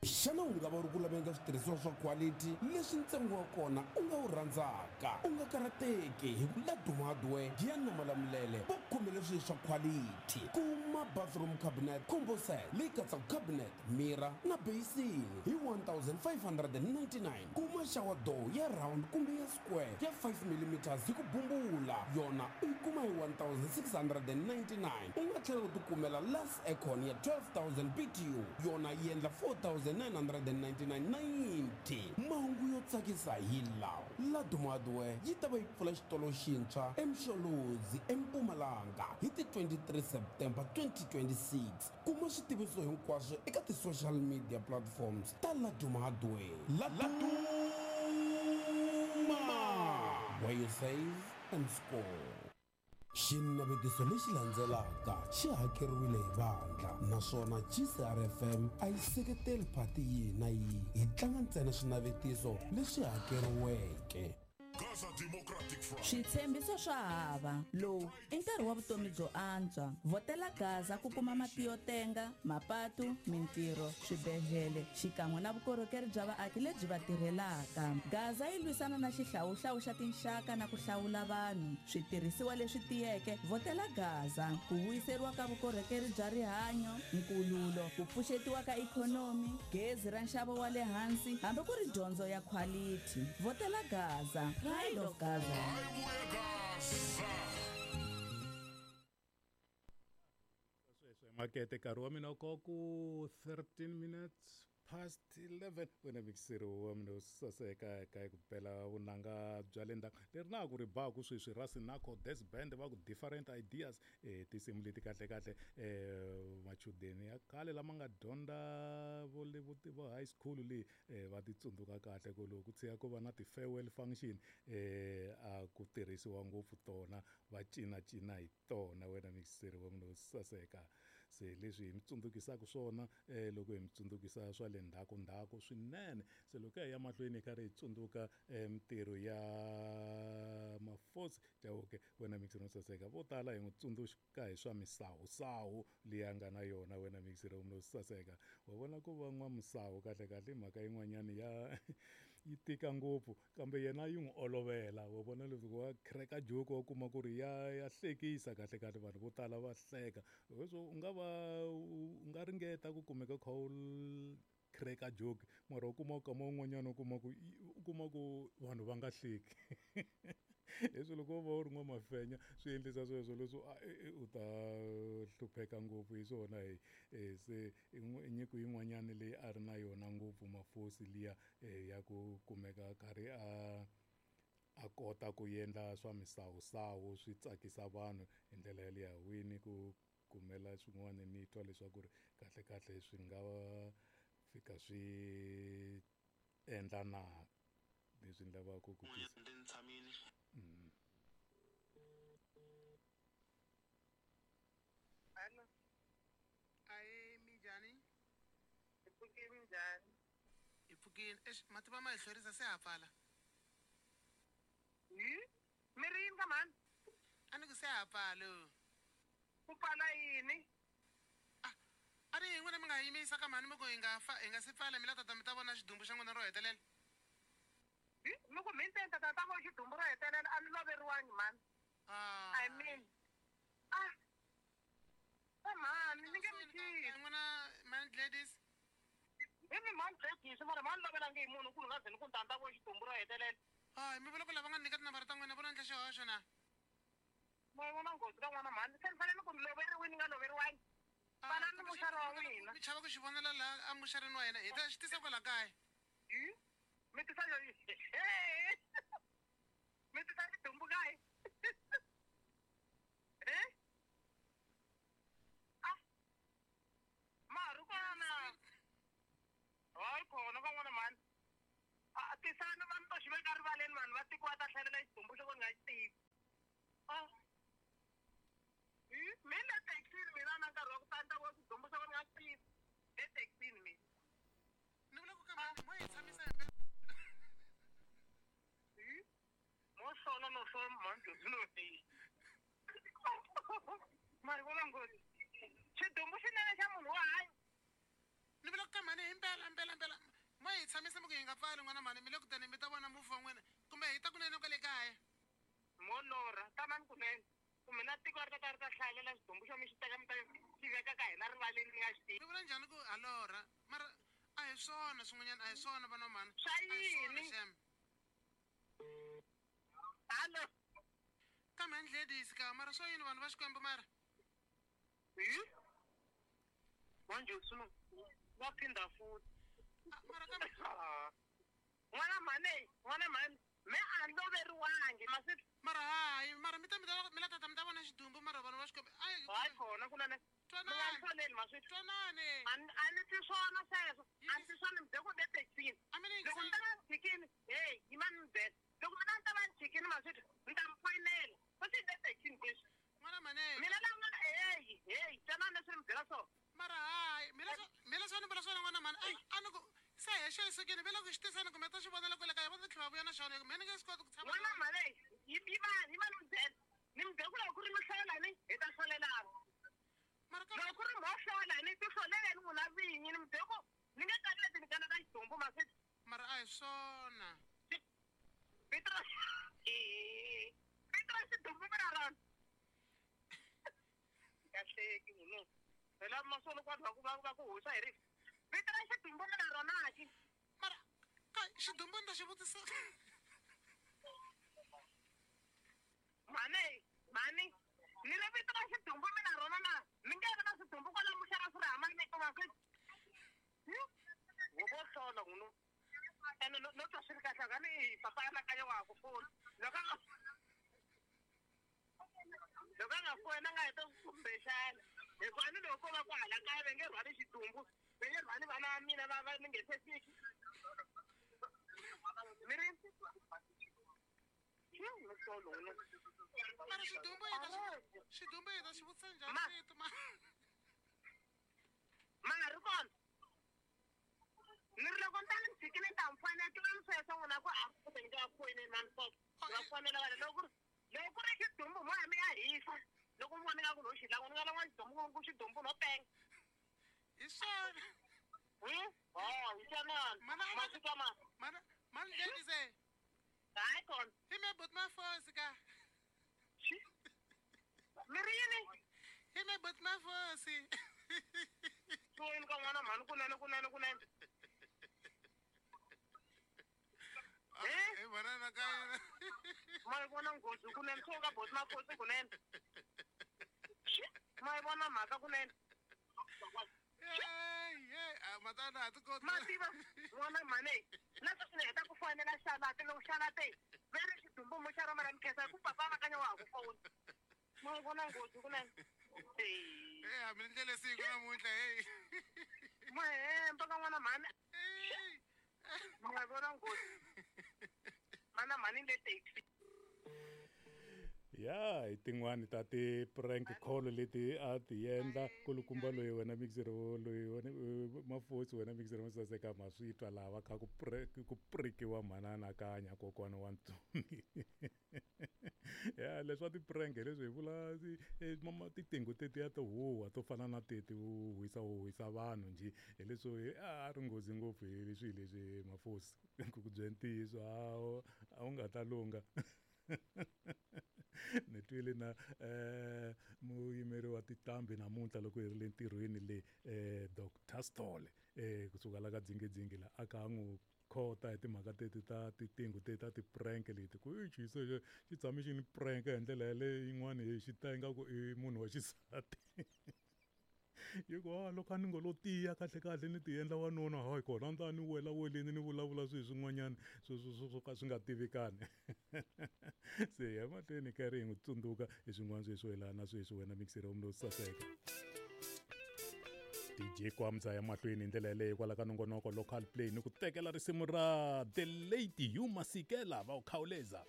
Xana u nga va u ri ku laveni ka switirhisiwa swa khwalithi leswi ntsengo wa kona u nga wu rhandzaka? U nga karhateki hi ku Laduma Hardware, Giyani na Malamulele va ku khomele swilo swa khwalithi. Kuma bathroom cabinet combo set leyi katsaka cabinet, mirror na beyisini hi 1599. Kuma shower door ya round kumbe ya square ya 5 millimeters hi ku bumbula, yona u yi kuma hi 1699. U nga tlhela u tikumela Lux Aircon ya 12000 BTU, yona yi endla 4999.90. Mahungu yo tsakisa hi lawa, Laduma Hardware yi ta va yi pfula xitolo xintshwa eMsholozi, eMpumalanga hi ti 23 September 2026. Kuma switiviso hinkwaswo eka ti-social media platforms ta Laduma Hardware. Laduma! Where you save and score. Xinavetiso lexi landzelaka xi hakeriwile hi vandla naswona GCRFM a yi seketeli phati yihi na yihi. Hi tlanga ntsena swinavetiso leswi hakeriweke. Switshembiso swa hava. Lowu i nkarhi wa vutomi byo antswa. Vhotela Gaza ku kuma mati yo tenga, mapatu, mintirho, swibedlhele xikan'we na vukorhokeri bya vaaki lebyi va tirhelaka. Gaza yi lwisana na xihlawuhlawu xa tinxaka na ku hlawula vanhu. Switirhisiwa leswi tiyeke, vhotela Gaza. Ku vuyiseriwa ka vukorhokeri bya rihanyo, nkululo, ku pfuxetiwa ka ikhonomi, gezi ra nxavo wa le hansi hambi ku ri dyondzo ya khwalithi. Vhotela Gaza. Pride of Gaza. Sweswo makete nkarhi wa mina ko ku 13 minutes past 11 wena mikiseri wa mina wo saseka eka ku bela vunanga bya le ndzhaku leri na ku ri baku sweswi ra Sinako Des Band va ku different ideas tinsimu leti kahle kahle machudeni ya khale lama nga dyondza vo le vo vo high school leyi va ti tsundzuka kahle ku loko ku tshika ku va na ti-farewell function a ku tirhisiwa ngopfu tona va cinacina hi tona wena mikiseri wa mina wo saseka se leswi hi mi tsundzukisaka swona loko hi mi tsundzukisa swa le ndzhaku ndzhaku swinene se loko hi ya mahlweni hi karhi hi tsundzuka mintirho ya Mafosi Chauke wena mikiseri wo saseka vo tala hi n'wi tsundzuka hi swa misawusawu leyi a nga na yona wena mikiseri wa mina wo saseka wa vona ku va n'wamisawu kahle kahle i mhaka yin'wanyana ya yi tika ngopfu kambe yena yi n'wi olovela wa vona leswi wa crack-a joke wa kuma ku ri ya ya hlekisa kahle kahle vanhu vo tala va hleka leswo u nga va u nga ringeta ku kumeka u kha u crack-a joke mara u kuma nkama wun'wanyana u kuma ku u kuma ku vanhu va nga hleki leswi loko wo va u ri n'wamafenya swi endlisa sweswo leswo u ta hlupheka ngopfu hi swona hi se i nyiko yin'wanyana leyi a ri na yona ngopfu Mafosi liya ya ku kumeka a karhi a a kota ku endla swa misawusawu swi tsakisa vanhu hi ndlela yaliya wini ku kumela swin'wana ni twa leswaku ri kahle kahle swi nga fika swi endla na leswi ni lavaka ku twisisa. Hello. Ahee, minjhani? Hi pfukile minjhani? Hi pfukile. Eish, mativa ma hi hlwerisa se ha pfala. Hi? Mi ri yini ka mhani? A ni ku se ha pfala. Ku pfala yini? A a ni hi n'wina mi nga hi yimisa ka mhani mi ku hi nga fa hi nga si pfala mi la tata mi ta vona xidumbu xa n'wina ro hetelela. Hi? Mi ku mhani ta ta ta vona xidumbu ro hetelela a ni loveriwangi mhani. I mean ah va mhani ni nge mi tshiki. N'wina mhani Gladys. Hi mi mhani Gladys mara mhani lovelangi hi munhu ku ni nga ze ni ku ni ta ni ta vona xidumbu ro hetelela. Hayi mi vula ku lava nga ni nyika tinambara ta n'wina vo lo endla xihoxo na? Ma yi vona nghozi ka n'wana mhani se ni fanele ni ku ni loveriwini ni nga loveriwangi. Pfalani muxara wa n'wina. Mi chava ku xi vonela laha emuxareni wa hina hi ta xi tisa kwala kaya. Hi? Mi tisa mi tisa xidumbu kaye e a ma ha ri kona hayi kona van'wana mhani a tisani vanhu to xi veka rivaleni vanhu va tiko va ta hlalela xidumbu xo vo ni nga xi tivi a mi le taxini mina na nkarhi wa ku ta ni ta vona xidumbu xo vo ni nga xi tivi le taxini mina ni vula ku ka mhani mo hi tshamisa hi Mo sola no sola mhani. Tshamisa mi ku hi nga pfali n'wana mhani, mi le ku tani mi ta vona mufi wa n'wina, kumbe hi ta kunene kwale kaya. Mo lorha, tamani kunene. Kumbe na tiko ri ta ta ri ta hlayelela xidumbu xo mi xi teka mi ta xi veka ka hina rivaleni mi nga xi tivi. Mi vula njhani ku ha lorha? Mara a hi swona swin'wanyana, a hi swona vana mhani. Swa A hi swona yini? xem. Hallo. Kambe a ni hledisi ka, mara swo yini vanhu va Xikwembu mara? Hi? Manje swi va phinda futhi. Ah, mara kambe Ah. N'wana mhani, n'wana mhani, me a ni loveriwangi masiku. Mara hayi, mara mi ta mi ta mi la tata mi ta vona xidumbu mara vanhu va Xikwembu. Ai, Hayi kona kunene. Mi nga ni twanani. hloleli masiku. Twanani. A ni twi swona sweswo. A ni twi swona mi bye ku le thekisini. A mi ni Loko ni ta va ni chikini, hey, yimani mi byela. Loko mina ni ta va ni chikini masiku, ni ta mi foyinela. Futhi ni le thekisini sweswi. N'wana mhani. Mina la n'wana, hey, hey, twanani leswi ni mi byela swona. Mara hayi, mina swo ni vula swona n'wana mhani. Ai, a ni ku se hexe yi sukile, ve le ku xi tiseni kumbe ta xi vonela kwale kaya, va ta tlhela va vuya na xona, mina ni nge swi koti ku tshama N'wana na mhani, yimani, yimani mi byela. Ni mi byela ku loko ku ri mi hlolani, hi ta hlolelana. Mara ka Loko ku ri mo hlola, ni ti hloleleni n'wina vinyi, ni mi byela ku ni nge kaneti ni kaneta xidumbu masiku. Mara a hi swona. Vito ra eh, vito ra xidumbu mi na rona. Kahleki munhu. Phela masolo kwa va ku va va ku hoxa hi rifu. Vito ra xidumbu mi na rona ki. Mara ka xidumbu ni ta xi vutisa. Mhani, mhani, ni ri vito ra xidumbu mi na rona na? Mi nge vi na swidumbu kwala muxaka swi ri hama ni va swi. Wo vo hlola n'wina. Ene no twa swi ri kahle ka ni papa anakanya wa ha ku fona. Loko a nga loko a nga foni a nga heta kumbexana. Hikuva ni loko ko va ku hala kaya va nge rhwali xidumbu, va nge rhwali vana va mina va va ni nge se fiki. Mi ri? Solo n'wina. Mara xidumbu hi ta xi xidumbu hi ta xi vutisa njhani Ma. vito ma? Ma nga ri kona. Ni ri loko ni ta ni tshikile ni ta mi fonela, tivani sweswo n'wina ku a ku ni nga foyineli mani sweswo. Va fonela vanhu loko ku ri loko ku ri xidumbu mo ya mi ya hisa. Loko mi vona ingaku no xi lava, ni nga lava xidumbu ku xidumbu no penga. Hi swona. Oh, hi swona. Mana a Masiku ama. Mana mani ladies eh. Hayi kona. Hi me but mafosi ka. Mi ri yini? Hi me but mafosi. Swi ka n'wana mhani kunene kunene kunene. Eh? Hi vona na ka yena. Ma yi vona nghozi kunene, swo ka boti mafosi kunene. Ma yi vona mhaka kunene. Hey, hey, a matana a ti koti. Ma tiva n'wana mhani, na sweswi ni heta ku fonela xalate loko xalate va ri xidumbu mo xa rona ra mi khensa hi ku papa anakanya wa ha ku fona. Ma yi vona nghozi kunene. Hey, a mi ni ndlele siku namuntlha, hey. Ma hemba ka n'wana mhani. Hey. Ma yi vona nghozi. Mana mhani le taxi. Ya hi tin'wani ta ti-prank call leti a ti endla kulukumba loyi wena mixer loyi wena mafosi wena mixer mo saseka ma swi twa laha va kha ku ku prikiwa mhana anakanya kokwana wa ntsumi. Ya leswa ti-prank hi leswi hi vula tiqingho tetiya to huhwa to fana na teti u huhisa huhisa vanhu njhe hi leswo a ri nghozi ngopfu hi leswi leswi mafosi ku ku byela ntiyiso a wu nga ta lungha. Ni twile na muyimeri wa tinqambi namuntlha loko hi ri le ntirhweni le Dr Stole kusuka la ka dzingedzingi la a kha a n'wi khota hi timhaka teti ta tiqingho teti ta ti-prank leti ku i xi xi tshame xi ni prank hi ndlela yaleyo yin'wani hi xi ta ingaku i munhu wa xisati. Yi ku a loko a ni ngo lo tiya kahle kahle ni ti endla wanuna hayi kona ni ta ni wela weleni ni vulavula swilo swin'wanyana swo ka swi nga tivikani. Se ya mahlweni karhi hi n'wi tsundzuka hi swin'wana sweswo yelana na sweswi wena mixer wa munhu saseka. DJ Kwamza ya mahlweni hi ndlela yaleyo kwala ka nongonoko local play ni ku tekela risimu ra The Lady Hugh Masekela va u khawuleza.